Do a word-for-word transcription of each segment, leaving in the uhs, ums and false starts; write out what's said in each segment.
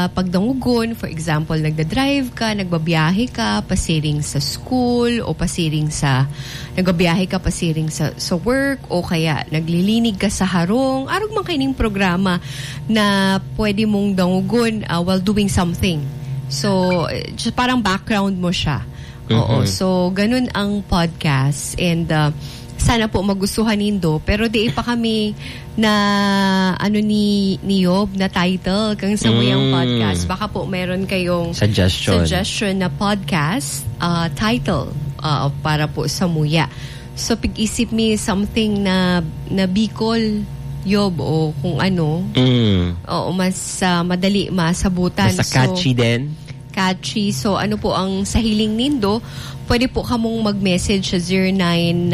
pagdangogon, for example, nagda-drive ka, nagbabiyahe ka, pasiring sa school, o pasiring sa, nagbabiyahe ka, pasiring sa, sa work, o kaya naglilinig ka sa harong, arog man kaining programa na pwede mong dangogon, ah, while doing something. So, eh, just parang background mo siya. Oo, Mhm. so ganun ang podcast and, ah, sana po magustuhan nindo, pero di pa kami na, ano, ni, ni Yob na title kang samuyang Mm. podcast. Baka po meron kayong Suggestion. suggestion na podcast, ah, title, ah, para po samuya. So, pag-isip mi something na, na Bicol, Yob, o kung ano. Mm. Oo, mas, ah, madali masabutan. Basta So, catchy din. catchy. So, ano po ang sa hiling nindo? Pwede po kamong mag-message sa zero nine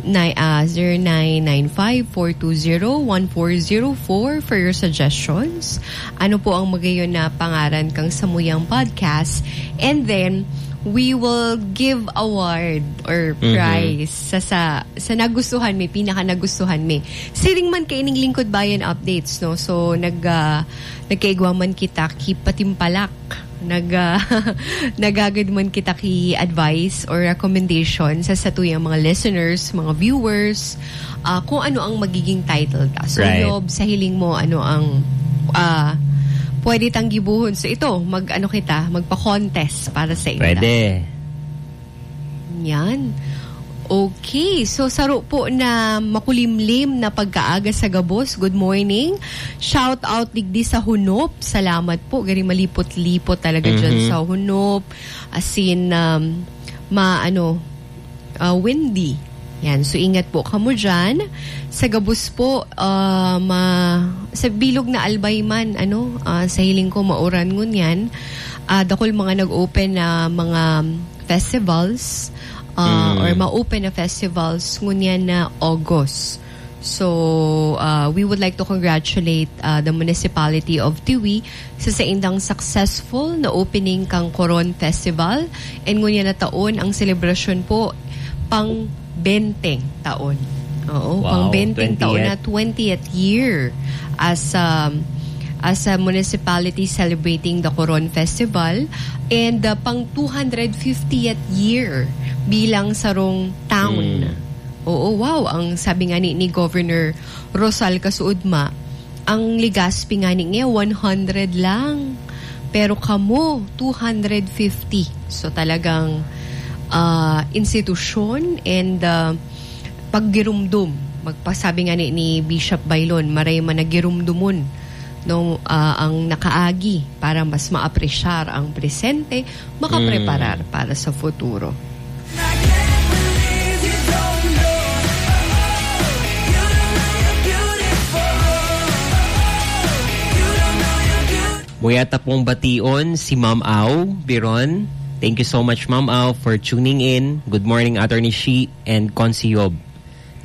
nine, ah, zero nine nine five, four two zero, one four zero four for your suggestions. Ano po ang magayon na pangaran kang samuyang podcast? And then, we will give award or Mhm. prize sa, sa, sa nagustuhan mi, pinaka nagustuhan mi. Siring man kaining Lingkod Bayan updates, no? So, nag, ah, nagkaigwa man kita ki patimpalak. Nag, ah, nagagad man kita ki advice or recommendation sa satuyang mga listeners, mga viewers, ah, kung ano ang magiging title ta. So, Right. Yob, sa hiling mo, ano ang, ah, pwede tang gibohon? So, ito, mag, ano kita, magpa-contest para sa inda. Pwede. Yan. Okay. So, saro po na makulimlim na pagkaaga sa gabos. Good morning. Shout out digdi sa Hunop. Salamat po. Gari malipot-lipot talaga dyan Mhm. sa Hunop. As in, um, ma-, ano, ah, windy. Yan. So, ingat po kamo dyan. Sa gabos po, ah, ma-, sa bilog na Albay man, ano, ah, sa hiling ko, mauran ngunyan. Ah, dakul mga nag-open na mga festivals, ah, Mm. or ma-open na festivals ngunyan na August. So, ah, we would like to congratulate, ah, the municipality of Tiwi sa saindang successful na opening kang Coron Festival. And ngunyan na taon, ang selebrasyon po, pang benteng taon. Oo, Wow, pang benteng taon na, twentieth. twentieth year as, um, as a municipality celebrating the Coron Festival and, uh, pang two hundred fiftieth year bilang sarong town. Mm. Oo, wow. Ang sabi nga ni, ni Governor Rosal Kasuudma, ang Legazpi nga ni, ngayon, one hundred lang. Pero kamo, two hundred fifty. So, talagang, ah, institusyon and, ah, paggirumdom. Magpasabi nga ni, ni Bishop Baylon, maray man na girumdomon, no, ah, ang nakaagi para mas maapresyar ang presente, makapreparar Mm. para sa futuro. Muya ta pong bation si Ma'am Au Biron. Thank you so much, Ma'am Au, for tuning in. Good morning, Attorney Shi and Consi Yob.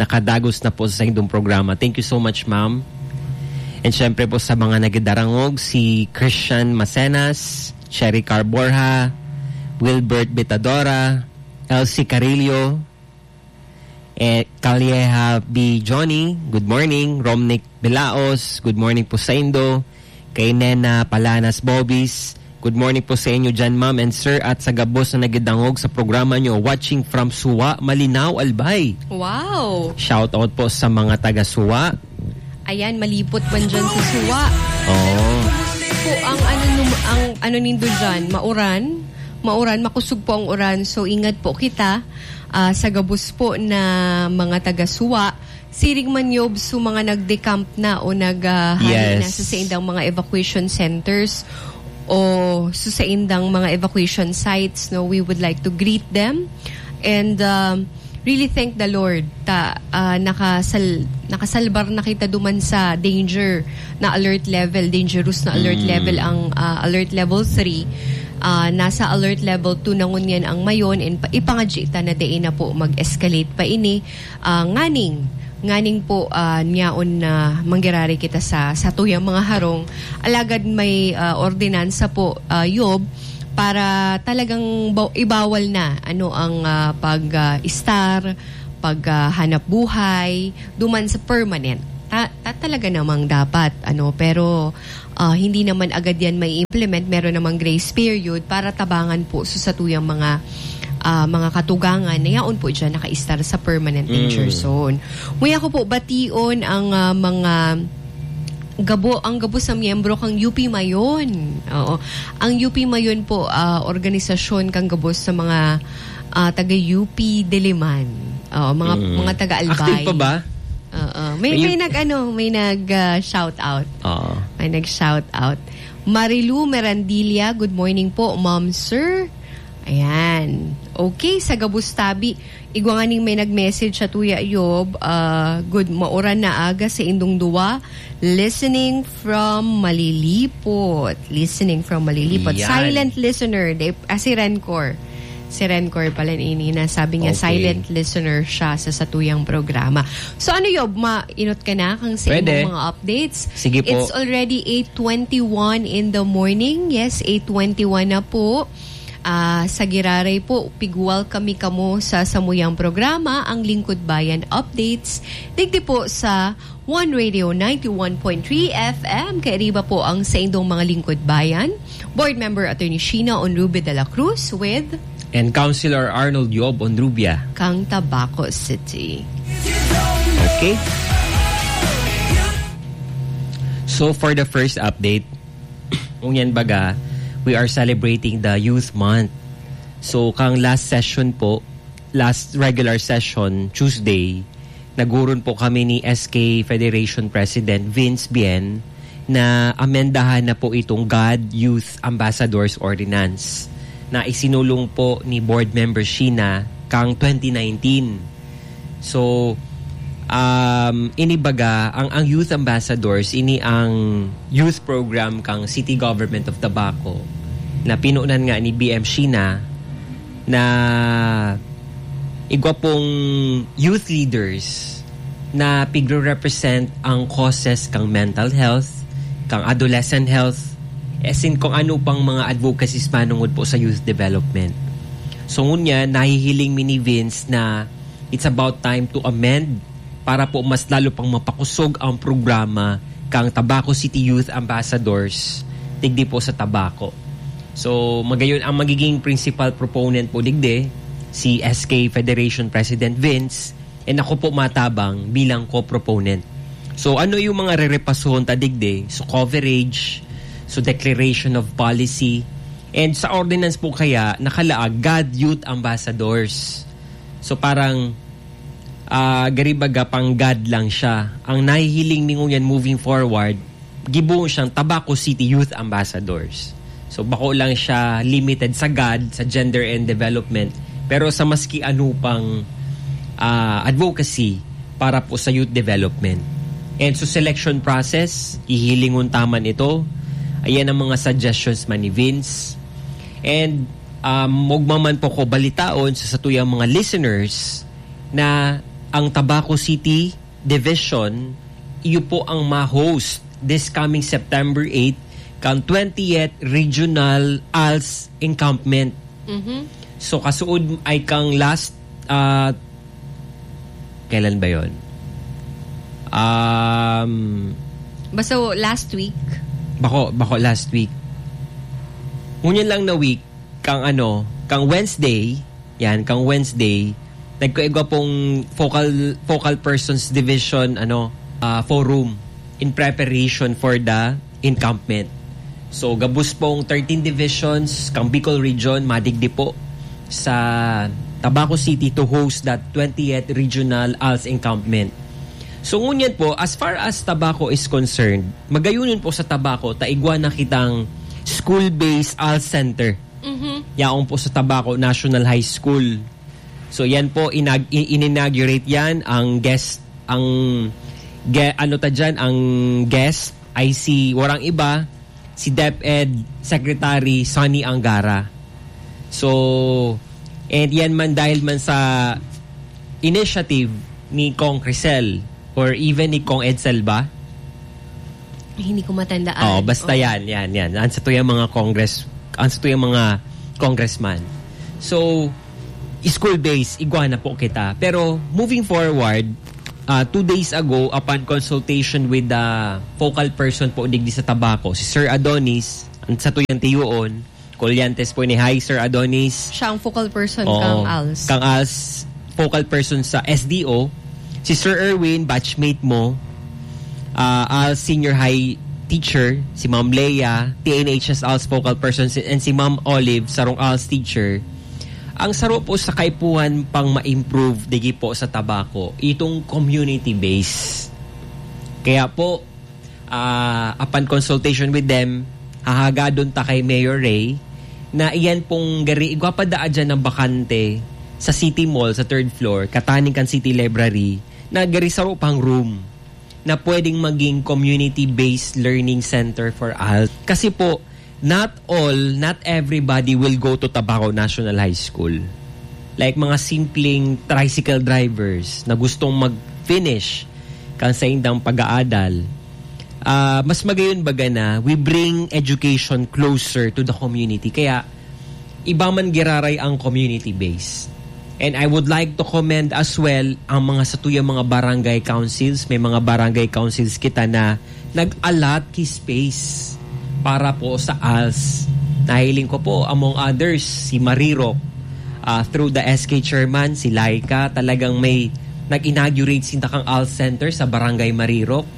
Nakadagos na po sa saindong programa. Thank you so much, Ma'am. And syempre po sa mga nagidarangog, si Christian Macenas, Cherry Carborja, Wilbert Bitadora, Elsie Carillo, eh, Calleja B. Johnny, good morning. Romnick Belaos, good morning po sa indo. Kay Nena Palanas Bobis, good morning po sa inyo dyan, ma'am and sir, at sa gabos na nagidangog sa programa nyo. Watching from Suwa, Malinao, Albay. Wow! Shout out po sa mga taga Suwa. Ayan, malipot man dyan sa Suwa. Oo. Po ang ano, num-, ang ano nindo dyan, mauran. Mauran, makusog po ang uran. So, ingat po kita, ah, sa gabos po na mga taga Suwa. Siring man yob sa mga nagde-camp na o nag, ah, hari na Yes. sa saindang mga evacuation centers o sa saindang mga evacuation sites, no, we would like to greet them and, um, really thank the Lord ta, ah, nakasal-, nakasalbar na kita duman sa danger na alert level, dangerous na alert Mm. level ang, ah, alert level three. Ah, nasa alert level two na ngunyan ang mayon, and pa-, ipangadyi ta na dai na po mag-escalate pa ini. Ah, nganing, nganing po, ah, nyaon na mangyarari kita sa, sa tuyang mga harong. Alagad may, ah, ordinansa po, ah, yob, para talagang ba-, ibawal na, ano, ang, ah, pag, ah, istar, pag, ah, hanap buhay, duman sa permanent. Ta-, ta-, talaga namang dapat, ano, pero, ah, hindi naman agad yan mai-implement, meron namang grace period para tabangan po sa satuyang mga, ah, mga katugangan na yaon po dyan nakaistar sa permanent danger zone. Nguya ko po bation ang, ah, mga gabo, ang gabos na miyembro kang U P Mayon. Oo. Ang U P Mayon po, ah, organisasyon kang gabos sa mga, ah, taga U P Diliman. Oo, mga, Mm. mga taga Albay. Active pa ba? Oo. May, May may U P nag-ano, may nag, ah, shout out. Oo. May nag-shout out. Marilu Merandilla, good morning po, Ma'am, Sir. Ayan. Okay, sa gabos tabi, igwa nga ning may nag-message sa tuya, Yob. Ah, good, mauran na aga sa indong duwa. Listening from Malilipot. Listening from Malilipot. Yan. Silent listener. They, ah, si Rencor. Si Rencor pala ini na sabi niya, Okay. silent listener siya sa satuyang programa. So ano, Yob, mainot ka na kang sa Pwede. imong mga updates? Sige po. It's already eight twenty-one in the morning. Yes, eight twenty-one na po. Ah, sa giraray po, pigwal kami kamo sa samuyang programa, ang Lingkod Bayan Updates. Digdi po sa One Radio ninety-one point three F M. Kairiba po ang saindong mga Lingkod Bayan. Board member Attorney Sheena Onrube de la Cruz with And Councilor Arnold Yob Onrubia. Kang Tabaco City. Okay. So for the first update, ngunyan baga, we are celebrating the Youth Month. So kang last session po, last regular session, Tuesday, nagurun po kami ni S K Federation President Vince Bien na amendahan na po itong God Youth Ambassadors Ordinance na isinulong po ni Board Member Sheena kang twenty nineteen. So, um, ini baga, ang, ang Youth Ambassadors, ini ang youth program kang City Government of Tabaco na pinunan nga ni B M Sheena na igwa pong youth leaders na pigre-represent ang causes kang mental health, kang adolescent health, as in kung ano pang mga advocacies manungod po sa youth development. So ngunyan, nahihiling mi ni Vince na it's about time to amend para po mas lalo pang mapakusog ang programa kang Tabaco City Youth Ambassadors, digdi po sa Tabaco. So, magayon ang magiging principal proponent po digdi, si S K Federation President Vince, and ako po matabang bilang co-proponent. So, ano yung mga rerepasohon ta digdi? So, coverage, so declaration of policy, and sa ordinance po kaya nakalaag God Youth Ambassadors. So, parang, ah, gari baga pang God lang siya. Ang nahihiling mi ngunyan moving forward, gibohon siyang Tabaco City Youth Ambassadors. So, bako lang siya limited sa God, sa gender and development, pero sa maski ano pang, ah, advocacy para po sa youth development. And so, selection process, hihilingon ta man ito. Ayan ang mga suggestions man ni Vince. And, um, mugma man po ko balitaon sa satuyang mga listeners na ang Tabaco City Division, iyo po ang ma-host this coming September eight kang twentieth Regional ALS Encampment. Mhm. So, kasuod ay kang last, ah, kailan ba yon? Um, Basta last week. Bako, bako last week. Ngunyan lang na week, kang ano, kang Wednesday, yan, kang Wednesday, nagkaigwa pong focal, focal persons division, ano, ah, forum in preparation for the encampment. So, gabos pong thirteen divisions, kang Bicol Region, madigdi po sa Tabaco City to host that twentieth Regional ALS Encampment. So, ngunyan po, as far as Tabaco is concerned, magayunon po sa Tabaco, ta igwa na kitang school-based ALS Center. Mhm. Yaon po sa Tabaco National High School. So, yan po, inag-, i-, in-inaugurate yan. Ang guest, ang ge-, ano ta dyan, ang guest ay si, warang iba, si DepEd Secretary Sonny Angara. So, and yan man dahil man sa initiative ni Cong Crisel or even ni Cong Edsel ba? Hindi ko matandaan. Oo, basta Oo. yan, yan, yan. Ang sa tuyang mga Congress, ang sa tuyang mga congressman. So, school-based, igwa na po kita. Pero, moving forward, Ah, two days ago, upon consultation with the focal person po digdi sa Tabaco, si Sir Adonis, ang satuyang tiyoon, Colliantes po ni. Hi, Sir Adonis. Siya ang focal person Oo. kang als. Kang als, focal person sa S D O. Si Sir Erwin, batchmate mo. Ah, als senior high teacher. Si Ma'am Leia, T N H S als focal person. Si, and si Ma'am Olive, sarong als teacher. Ang saro po sa kaipuhan pang ma-improve digi po sa Tabaco, itong community base. Kaya po, ah, upon consultation with them, hahagadon ta kay Mayor Ray na iyan pong gari, igwa pa daa dyan ng bakante sa City Mall, sa third floor, kataning kan City Library, na gari saro pang room na pwedeng maging community-based learning center for als. Kasi po, not all, not everybody will go to Tabaco National High School. Like mga simpleng tricycle drivers na gustong mag-finish kan saindang pag-aadal, ah, mas magayon baga na we bring education closer to the community. Kaya, iba man giraray ang community base. And I would like to commend as well ang mga satuyang mga barangay councils. May mga barangay councils kita na nag-allot ki space para po sa als. Nahiling ko po, among others, si Marirok, ah, through the S K chairman, si Laika, talagang may nag-inaugurate sinda kang als center sa Barangay Marirok.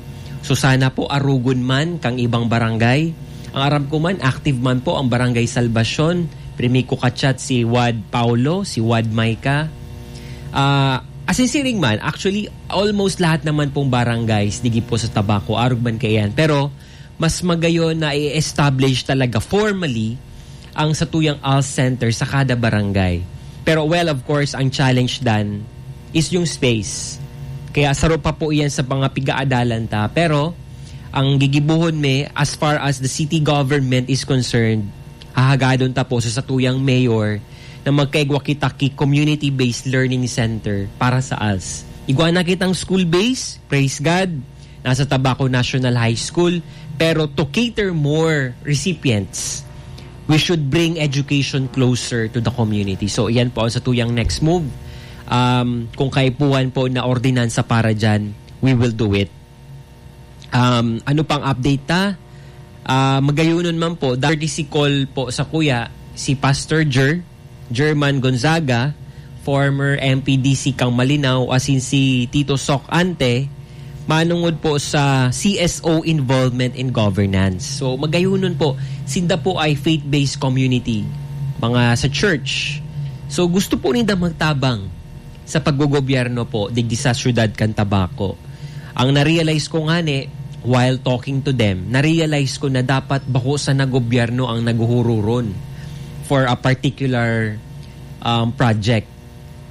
So sana po arugon man kang ibang barangay. Ang aram ko man, active man po ang Barangay Salvacion, Primico Cachat, si Wad Paulo, si Wad Maika. Ah, asin siring man, actually, almost lahat naman pong barangays, digi po sa Tabaco, arog man kaiyan. Pero, mas magayon na i-establish talaga formally ang satuyang als center sa kada barangay. Pero, well, of course, ang challenge dan is yung space. Kaya saro pa po iyan sa mga pigaadalan ta. Pero, ang gigibuhon mi, as far as the city government is concerned, hahagadon ta po sa satuyang mayor na magkaigwa kita ki community-based learning center para sa als. Igwa na kitang school base, praise God, nasa Tabaco National High School, pero to cater more recipients, we should bring education closer to the community. So, iyan po ang satuyang next move. Um, kung kaipuhan po na ordinansa para dyan, we will do it. Um, ano pang update ta? Ah, magayonon man po, courtesy call po sa kuya, si Pastor Jer, German Gonzaga, former M P D C kang Malinao, asin si Tito Sok Ante, manungod po sa C S O involvement in governance. So, magayonon po, sinda po ay faith-based community, mga sa church. So, gusto po ninda magtabang sa paggogobyerno po digdi sa syudad kan Tabaco. Ang na-realize ko ngani, while talking to them, na-realize ko na dapat bako sana gobyerno ang naghuhururon for a particular, um, project.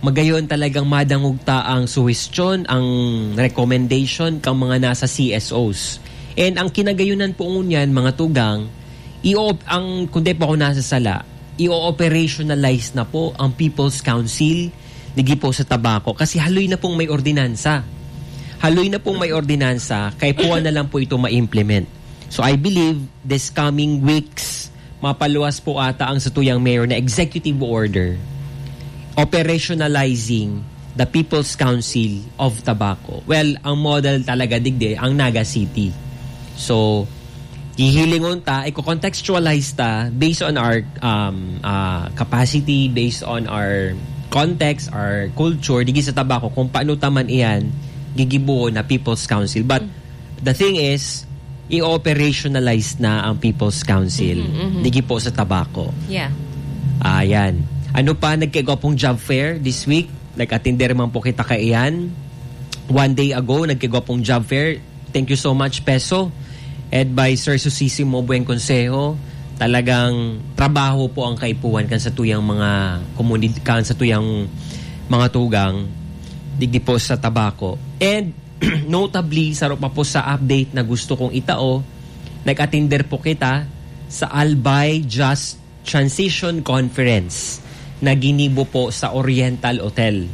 Magayon talagang madangog ta ang suhestyon, ang recommendation kang mga nasa C S Os. And ang kinagayonan po ngunyan, mga tugang, i-op-, ang, kung di po ako nasasala, i-operationalize na po ang People's Council, digi po sa Tabaco. Kasi haloy na pong may ordinansa. Haloy na pong may ordinansa, kaipuhan na lang po ito ma-implement. So I believe this coming weeks, mapaluwas po ata ang satuyang mayor na executive order operationalizing the People's Council of Tabaco. Well, ang model talaga digdi, ang Naga City. So, hihilingon ta, i-contextualize ta based on our, um, uh, capacity, based on our context, our culture, digi sa Tabaco, kung paano ta man iyan gigibuon na People's Council. But the thing is, i-operationalize na ang People's Council. Mhm, mhm. Digi po sa Tabaco. Yeah. Ayan. Ano pa, nagkaigwa pong job fair this week? Nag-atender man po kita kaiyan. One day ago, nagkaigwa pong job fair. Thank you so much, Peso. Ed by Sir Susisimo Buen Consejo. Talagang trabaho po ang kaipuhan kan sa tuyang mga komunid-, kan sa tuyang mga tugang digdi po sa Tabaco. And notably, saro pa po sa update na gusto kong itao, nag-atender po kita sa Albay Just Transition Conference na ginibo po sa Oriental Hotel.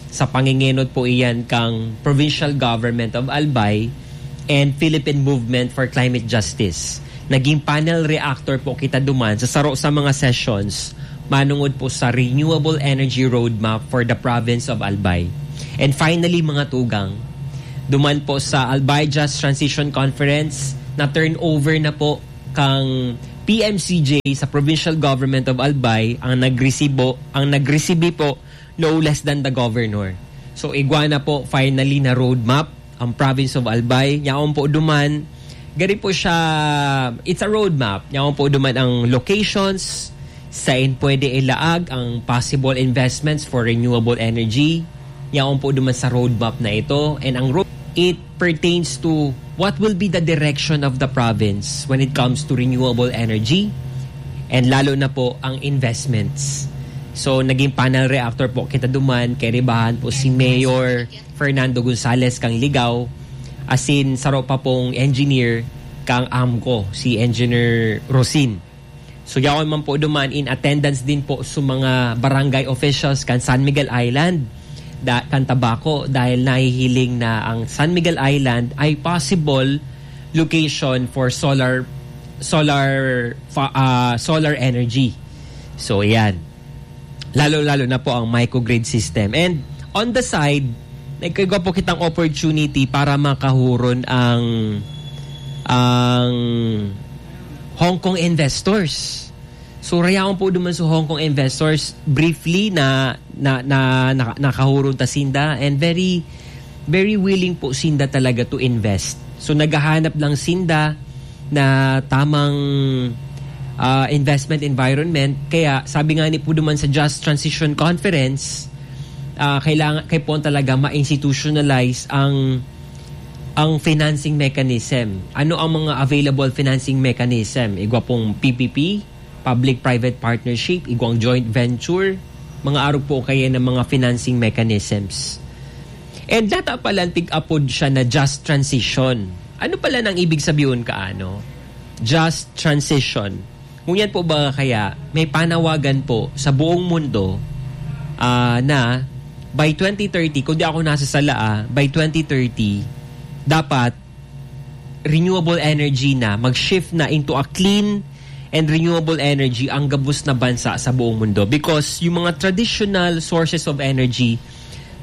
Sa pangingenot po iyan kang Provincial Government of Albay and Philippine Movement for Climate Justice. Naging panel reactor po kita duman sa saro sa mga sessions manungod po sa Renewable Energy Roadmap for the Province of Albay. And finally, mga tugang, Duman po sa Albay Just Transition Conference, na-turn over na po kang P M C J sa Provincial Government of Albay ang nagresibo, ang nagresibi po, no less than the governor. So, igwa na po finally na roadmap ang province of Albay. Yaon po duman, gari po siya, it's a roadmap. Yaon po duman ang locations, sain pwede ilaag ang possible investments for renewable energy. Yaon po duman sa roadmap na ito. And ang road, it pertains to what will be the direction of the province when it comes to renewable energy and lalo na po ang investments. So, naging panel reactor po kita duman, kay ribahan po si Mayor Fernando Gonzalez kang Ligao, asin saro pa pong engineer kang AMCO, si Engineer Rosin. So, yaon man po duman, in attendance din po sa mga barangay officials kan San Miguel Island, da, kan Tabaco, dahil nahihiling na ang San Miguel Island ay possible location for solar, solar, fa-, ah, solar energy. So, yan. Lalo-lalo na po ang microgrid system. And on the side, nagkagawa po kitang opportunity para makahuron ang, ang Hong Kong investors. So, rayaon po duman sa Hong Kong investors, briefly na, na, na, na, nakahuron ta sinda, and very, very willing po sinda talaga to invest. So, naghahanap lang sinda na tamang, ah, investment environment. Kaya, sabi nga ni po duman sa Just Transition Conference, ah, kailangan, kaipuhan talaga ma-institutionalize ang, ang financing mechanism. Ano ang mga available financing mechanism? Igwa pong P P P, public-private partnership, igwang joint venture, mga arog po kaya ng mga financing mechanisms. And data pala, tig-apod siya na just transition. Ano pala nang ibig sabihin kaano? Just transition. Ngunyan po ba kaya may panawagan po sa buong mundo, ah, na by twenty thirty, kung di ako nasasala, ah, by twenty thirty, dapat renewable energy na, mag-shift na into a clean and renewable energy ang gabos na bansa sa buong mundo, because yung mga traditional sources of energy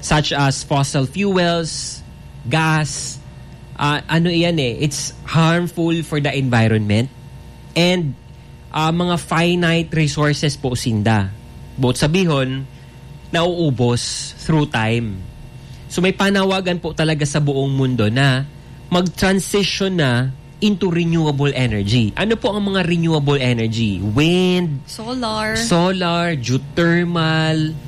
such as fossil fuels, gas, ah, ano iyan eh, it's harmful for the environment and, ah, mga finite resources po sinda. Both sabihon, nauubos through time. So may panawagan po talaga sa buong mundo na mag-transition na into renewable energy. Ano po ang mga renewable energy? Wind, Solar. solar, geothermal,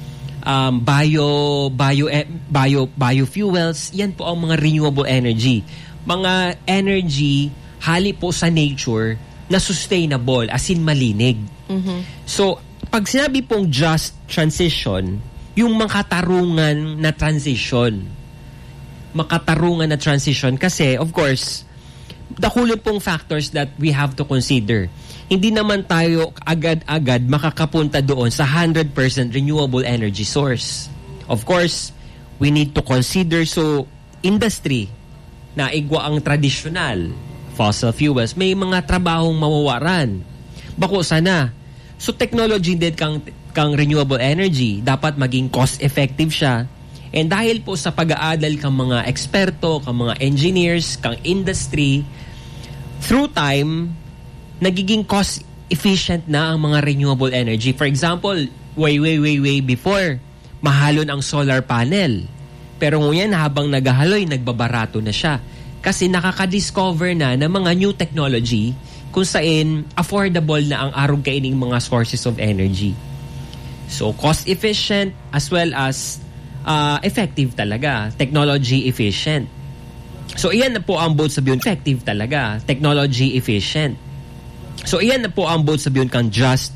um, bio, bio, eh, bio, biofuels. Yan po ang mga renewable energy. Mga energy, hali po sa nature, na sustainable, as in malinig. Mhm. So, pag sinabi pong just transition, yung makatarungan na transition. Makatarungan na transition kasi, of course, dakulon pong factors that we have to consider. Hindi naman tayo agad-agad makakapunta doon sa hundred percent renewable energy source. Of course, we need to consider, so, industry na igwa ang tradisyonal, fossil fuels, may mga trabahong mawawaran. Bako sana. So, technology din kang, kang renewable energy, dapat maging cost-effective siya. And dahil po sa pag-aadal kang mga eksperto, kang mga engineers, kang industry, through time, nagiging cost-efficient na ang mga renewable energy. For example, way, way, way, way before, mahalon ang solar panel. Pero ngunyan, habang naghahaloy, nagbabarato na siya. Kasi nakaka-discover na ng mga new technology kung sain affordable na ang arog kaining mga sources of energy. So, cost-efficient as well as, ah, effective talaga. Technology efficient. So, iyan na po ang both sabihon. Effective talaga. Technology efficient. So, iyan na po ang both sabihon kang just